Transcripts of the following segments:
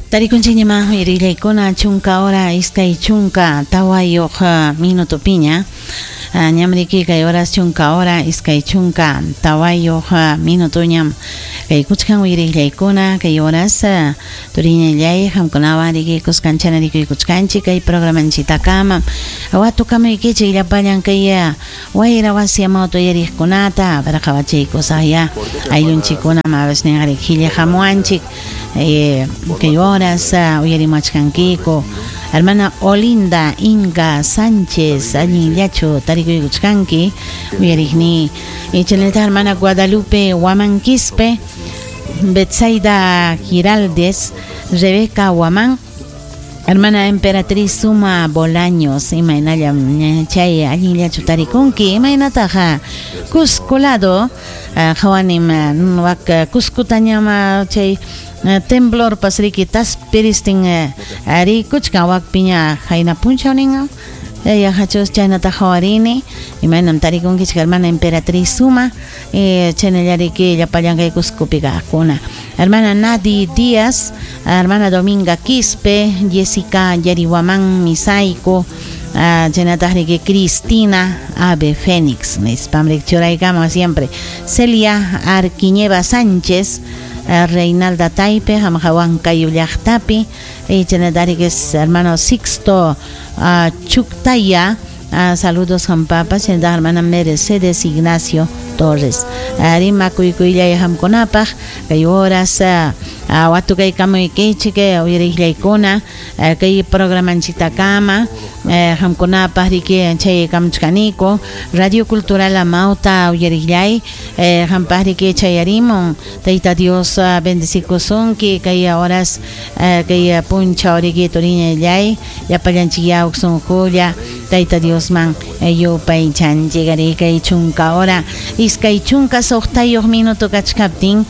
Tarikunchikñamá uyarillaykuna 10 hora 24 minutopiña. Ñam riki kay horas 10 hora 24 minutoñam kay kuchkan uyarillaykuna kay horas turiñallay qamkunawan riki kuskanchana rikuykuchkanchik kay programanchitakama watukamuykichik llapallan kay wayra wasi amawta uyariqkunata para qawachiykusaqya ayllunchikkuna mabasninqa riki qillaqamuwanchik kay horas uyarimuwachkankiku hermana Olinda Inga Sánchez allinllachu tarikuykuchkanki uyariqni chaynallataq hermana Guadalupe Huamanquispe Betsaida Giraldes Rebeca Huamán hermana Emperatriz Suma Bolaños imaynallam chay allinllachu tarikunki imaynataq Cusco lado qawanim wak Cuscotañam chay temblor pasriki taspiristin rikuchkan wakpiña qayna punchawnin yaqachus chaynata qawarini imaynam tarikunkichik hermana Emperatriz Suma chaynallariki llapallan kay Cuscopi kaqkuna hermana Nadi Díaz hermana Dominga Quispe Jessica Yarihuamán Misaico chaynataq riki Cristina Ave Fénix nispam churaykama siempre Celia Arquiñeva Sánchez Reinalda Taipe qamqa Huancayo llaqtapi chaynataq hermano Sixto Chuctaya saludos qampapa chaynataq hermana Mercedes Ignacio Torres rima kuykuyllay qamkunapaq kay horas watukaykamuykichik uyariqllaykuna kay programanchitakama qamkunapaq riki chay kamuchkaniku Radio Cultural Amauta uyariqllay qampaq riki chayarimun Tayta Dios bendecikusunki kay horas kay punchaw riki turiñallay llapallanchik sunqulla Tayta Diosman yupaychanchik ari kay 10 hora 26 minuto kachkaptin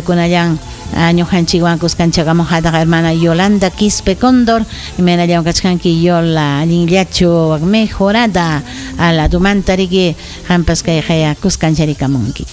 kunallan ñuqanchikwan kuskanchakamuq hataq hermana Yolanda Quispe Cóndor imaynallam kachkanki Yola allinllachu mejorada aladumanta riki qampas kay qaya kuskancharikamunki.